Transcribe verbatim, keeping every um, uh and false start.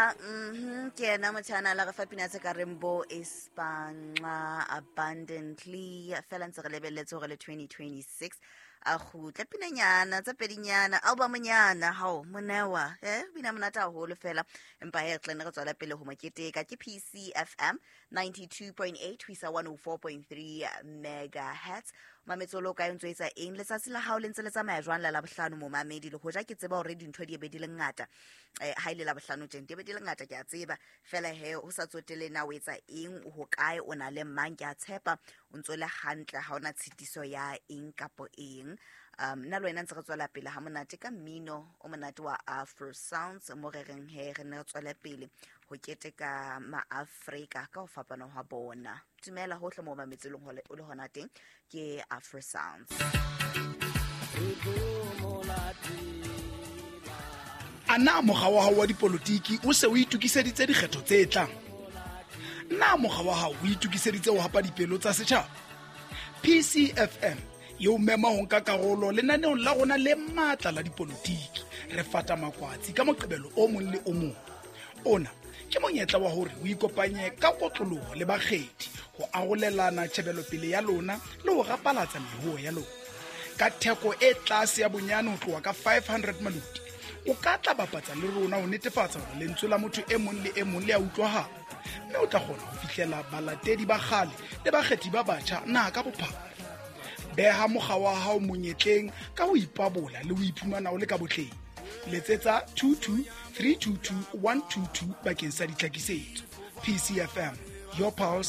Mhm, ke yena motho a na le re fa pina tse ka reng bo Ispanca abundantly. Fela ntse re lebelletse hore le twenty twenty-six a kgutle pinanyana tse pedinyana, albumnyana. Hao monewa, eh bina monate haholo fela, empa he re tla nne re tswela pele ho mo keteka. Ke P C F M ninety-two point eight ho isa one oh four point three megahertz. Mametse o le o kae, o ntso etsa eng? Letsatsi la hao le ntse le tsamaya jwang la Labohlano, momamedi? Le hoja ke tseba hore dintho di be di le ngata, eh, ha ile Labohlano tjena di be di le ngata, ke a tseba. Fela he ho sa tsotele na o etsa eng, o hokae, o na le mang, ke a tshepa o ntso le hantle, ha ona tshitiso ya eng kapo eng. Um, nna le wena ntse re tswela pele ha monate ka mmino o monate wa Afro Sounds, mo re reng he re ne re tswele pele ho keteka maAfrika ka ho fapana hwa bona. Dumela hohle moo mametse leng hole, o le hona teng, ke Afro Sounds. A na mokga wa hao wa dipolotiki o se o itokiseditse dikgetho tse tlang? Na mokga wa hao o itokiseditse ho hapa dipelo tsa setjhaba? P C F M e o mema ho nka karolo lenaneong la rona le matla la dipolotiki. Re fata makwatsi ka Moqebelo o mong le o mong. Ona ke monyetla wa hore o ikopanye ka kotloloho le bakgethi ho arolelana tjhebelopele ya lona le ho rapalatsa mehoho ya lona. Ka theko e tlase ya bonyane ho tloha ka five hundred maluti, o ka tla bapatsa le rona ho netefatsa hore lentswe la motho e mong le e mong le a utlwahala, mme o tla kgona ho fihlela balatedi ba kgale le bakgethi ba batjha naha ka bophara. Beha mokga wa hao monyetleng ka ho ipabola le ho iphumana o le ka botleng. Letsetsa two two three two two one two two bakeng sa ditlhakisetso. P C F M, your pulse,